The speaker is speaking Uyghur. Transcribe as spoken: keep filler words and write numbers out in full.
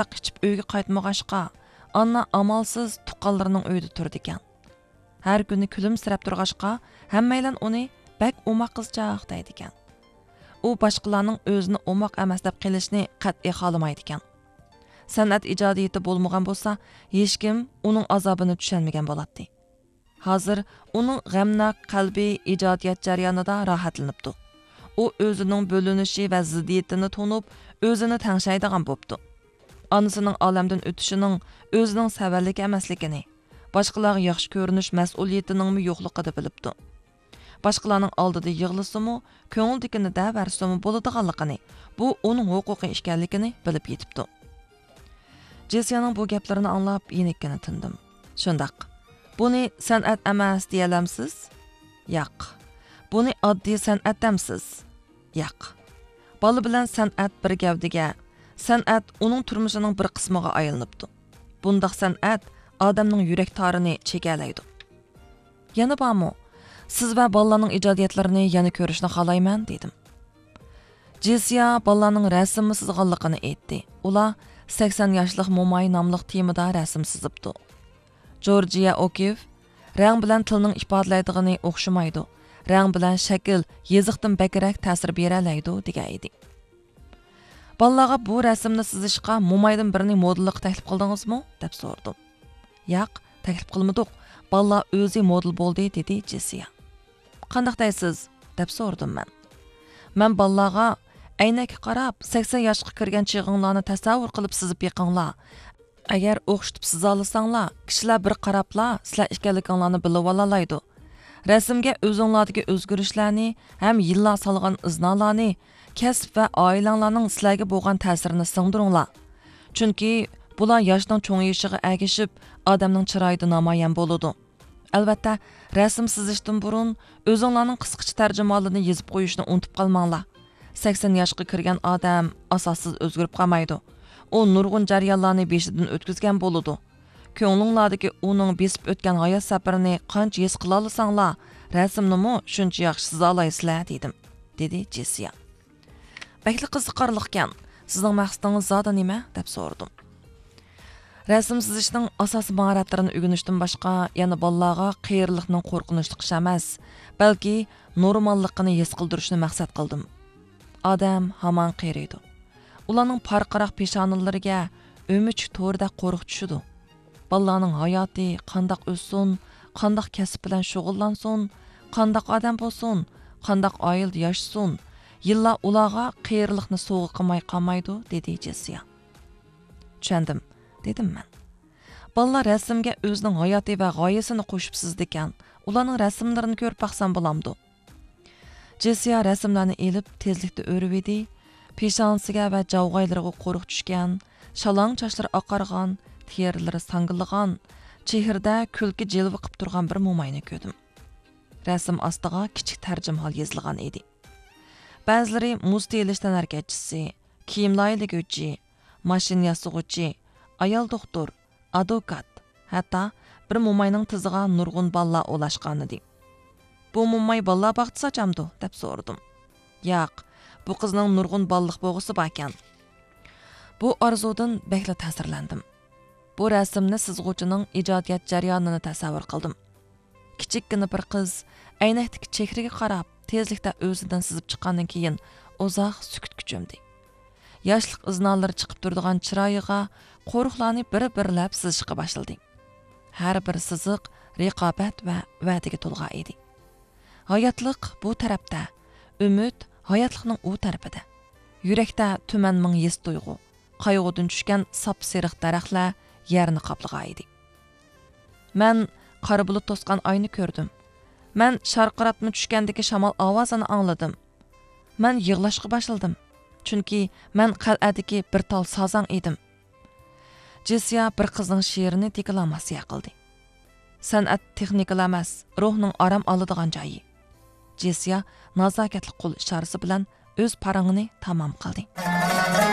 ئاراق ئىچىپ ئۆيگە قايتمىغاچقا، ئاننا ئامالسىز تۇغقانلىرىنىڭ ئۆيىدە تۇرىدىكەن. ھەر كۈنى كۈلۈمسىرەپ تۇرغاچقا، ھەممەيلەن ئۇنى بەك ئوماق قىزچاق دەيدىكەن. ئۇ باشقىلارنىڭ ئۆزىنى ئوماق ئەمەس دەپ قېلىشىنى قەتئىي خالىمايدىكەن. سەنئەت ئىجادىيىتى بولمىغان بولسا، ھېچكىم ئۇنىڭ ئازابىنى چۈشەنمىگەن بولاتتى. ھازىر ئۇنىڭ غەمناك قەلبى ئىجادىيەت جەريانىدا راھەتلىنىپتۇ. ئۇ ئۆزىنىڭ بۆلۈنۈشى ۋە زىددىيىتىنى تونۇپ، ئۆزىنى تەڭشەيدىغان بوپتۇ. ئانىسىنىڭ ئالەمدىن ئۆتۈشىنىڭ ئۆزىنىڭ سەۋەنلىكى ئەمەسلىكىنى، باشقىلارغا ياخشى كۆرۈنۈش مەسئۇلىيىتىنىڭمۇ يوقلۇقىدا بىلىپتۇ. باشقىلارنىڭ ئالدىدا يىغلىسىمۇ، كۆڭلىدىكىنى دەۋەرسىمۇ بولىدىغانلىقىنى، بۇ ئۇنىڭ ھوقۇقى ئىكەنلىكىنى بىلىپ يېتىپتۇ. جېسىيانىڭ بۇ گەپلىرىنى ئاڭلاپ، يېنىككىنە تىندىم. شۇنداق. بۇنى سەنئەت ئەمەس دېيەلەمسىز؟ ياق. بۇنى ئاددىي سەنئەت دەمسىز؟ ياق. بالا بىلەن سەنئەت بىر گەۋدىگە، سەنئەت ئۇنىڭ تۇرمۇشىنىڭ بىر قىسمىغا ئايلىنىپتۇ. بۇنداق سەنئەت ئادەمنىڭ يۈرەك تارىنى چېكەلەيدۇ. يەنە بارمۇ؟ سىز ۋە بالىلارنىڭ ئىجادىيەتلىرىنى يەنە كۆرۈشنى خالايمەن، دېدىم. جېسىيا بالىلارنىڭ رەسىممۇ سىزغانلىقىنى ئېيتتى. ئۇلار سەكسەن ياشلىق موماي ناملىق تېمىدا رەسىم سىزىپتۇ. جورجىيە ئوكىف، رەڭ بىلەن تىلنىڭ ئىپادىلەيدىغىنى ئوخشىمايدۇ. رەڭ بىلەن شەكىل يېزىقتىن بەكرەك تەسىر بېرەلەيدۇ، دېگەن ئىدى. بالىلارغا بۇ رەسىمنى سىزىشقا مومايدىن بىرنى مودېللىققا تەكلىپ قىلدىڭىزمۇ؟ دەپ سورىدىم. ياق، تەكلىپ قىلمىدۇق. بالىلار ئۆزى مودېل بولدى، دېدى جېسىيا. قانداق دەيسىز؟ دەپ سورىدىم مەن. مەن بالىلارغا، ئەينەككە قاراپ، سەكسەن ياشقا كىرگەن چېغىڭلارنى تەسەۋۋۇر قىلىپ سىزىپ بېقىڭلار. ئەگەر ئوخشىتىپ سىزالىساڭلار، كىشىلەر بىر قاراپلا سىلەر ئىكەنلىكىڭلارنى بىلىۋالالايدۇ. رەسىمگە ئۆزۈڭلاردىكى ئۆزگىرىشلەرنى ھەم يىللار سالغان ئىزنالارنى، كەسىپ ۋە ئائىلەڭلارنىڭ سىلەرگە بولغان تەسىرىنى سىڭدۈرۈڭلار. چۈنكى بۇلار ياشنىڭ چوڭىيىشىغا ئەگىشىپ، ئادەمنىڭ چىرايىدا نامايان بولىدۇ. ئەلۋەتتە، رەسىم سىزىشتىن بۇرۇن ئۆزۈڭلارنىڭ قىسقىچە تەرجىمىھالىنى يېزىپ قويۇشنى ئۇنتۇپ قالماڭلار. سەكسەن ياشقا كىرگەن ئادەم ئاساسسىز ئۆزگىرىپ قالمايدۇ. ئۇ نۇرغۇن جەريانلارنى بېشىدىن ئۆتكۈزگەن بولىدۇ. كۆڭلۈڭلاردىكى ئۇنىڭ بېسىپ ئۆتكەن ھايات سەپىرىنى قانچە ھېس قىلالىساڭلار، رەسىمنىمۇ شۇنچە ياخشى سىزالايسىلەر، دېدىم، دېدى جېسىيا. بەكلا قىزىقارلىقكەن. سىزنىڭ مەقسىتىڭىز زادى نېمە؟ دەپ سورىدىم. رەسىم سىزىشنىڭ ئاساسىي ماھارەتلىرىنى ئۆگىنىشتىن باشقا، يەنە بالىلارغا قېرىلىقنىڭ قورقۇنچلۇق ئىش ئەمەس، بەلكى نورماللىقىنى ھېس قىلدۇرۇشنى مەقسەت قىلدىم. ئادەم ھامان قېرىيدۇ. ئۇلارنىڭ پارقىراق پېشانىلىرىگە ئۆمۈچۈك تورىدەك قورۇق چۈشىدۇ. بالىلارنىڭ ھاياتى قانداق ئۆتسۇن، قانداق كەسىپ بىلەن شۇغۇللانسۇن، قانداق ئادەم بولسۇن، قانداق ئائىلىدە ياشىسۇن، يىللار ئۇلارغا قېرىلىقنى سوۋغا قىلماي قالمايدۇ، دېدى جېسىيا. چۈشەندىم، دېدىم مەن. بالىلار رەسىمگە ئۆزىنىڭ ھاياتى ۋە غايىسىنى قوشۇپ سىزىدىكەن، ئۇلارنىڭ رەسىملىرىنى كۆرۈپ باقسام بولامدۇ؟ جېسىيا رەسىملەرنى ئېلىپ تېزلىكتە ئۆرۈۋىدى. پېشانىسىگە ۋە جاۋغايلىرىغا قورۇق چۈشكەن، شالاڭ چاچلىرى ئاقارغان، تېرىلىرى ساڭگىلىغان، چېھرىدە كۈلكە جىلۋە قىپ تۇرغان بىر موماينى كۆردۈم. رەسىم ئاستىغا كىچىك تەرجىمىھال يېزىلغان ئىدى. بەزىلىرى مۇز تېيىلىش تەنھەرىكەتچىسى، كىيىم لايىھىلىگۈچى، ماشىنا ياسىغۇچى، ئايال دوختۇر، ئادۋوكات، ھەتتا بىر موماينىڭ تىزىغا نۇرغۇن بالىلار ئولاشقانىدى. بۇ موماي بالىلار باغچىسى ئاچامدۇ؟ دەپ سورىدىم. ياق، بۇ قىزنىڭ نۇرغۇن بالىلىق بوغۇسى باركەن. بۇ ئارزۇدىن بەكلا تەسىرلەندىم. بۇ رەسىمنى سىزغۇچىنىڭ ئىجادىيەت جەريانىنى تەسەۋۋۇر قىلدىم. كىچىككىنە بىر قىز ئەينەكتىكى چېھرىگە قاراپ، تېزلىكتە ئۆزىدىن سىزىپ چىققاندىن كېيىن، ئۇزاق سۈكۈتكە چۆمدى. ياشلىق ئىزنالىرى چىقىپ تۇرىدىغان چىرايىغا قورۇقلارنى بىر-بىرلەپ سىزىشقا باشلىدى. ھەر بىر سىزىق رىقابەت ۋە ۋەدىگە تولغان ئىدى. ھاياتلىق بۇ تەرەپتە، ئۈمىد ھاياتلىقنىڭ ئۇ تەرىپىدە. يۈرەكتە تۈمەن مىڭ ھېس تۇيغۇ، قايغۇدىن چۈشكەن ساپسېرىق دەرەخلەر يەرنى قاپلىغان ئىدى. مەن قارا بۇلۇت توسقان ئاينى كۆردۈم. مەن شارقىراتما چۈشكەندىكى شامال ئاۋازىنى ئاڭلىدىم. مەن يىغلاشقا باشلىدىم. چۈنكى مەن قەلئەدىكى بىر تال سازاڭ ئىدىم. جېسىيا بىر قىزنىڭ شېئىرىنى دېكلاماتسىيە قىلدى. سەنئەت تېخنىكىلا ئەمەس، روھنىڭ ئارام ئالىدىغان جايى. جېسىيا نازاكەتلىك قول ئىشارىسى بىلەن ئۆز پارىڭىنى تامام قىلدى.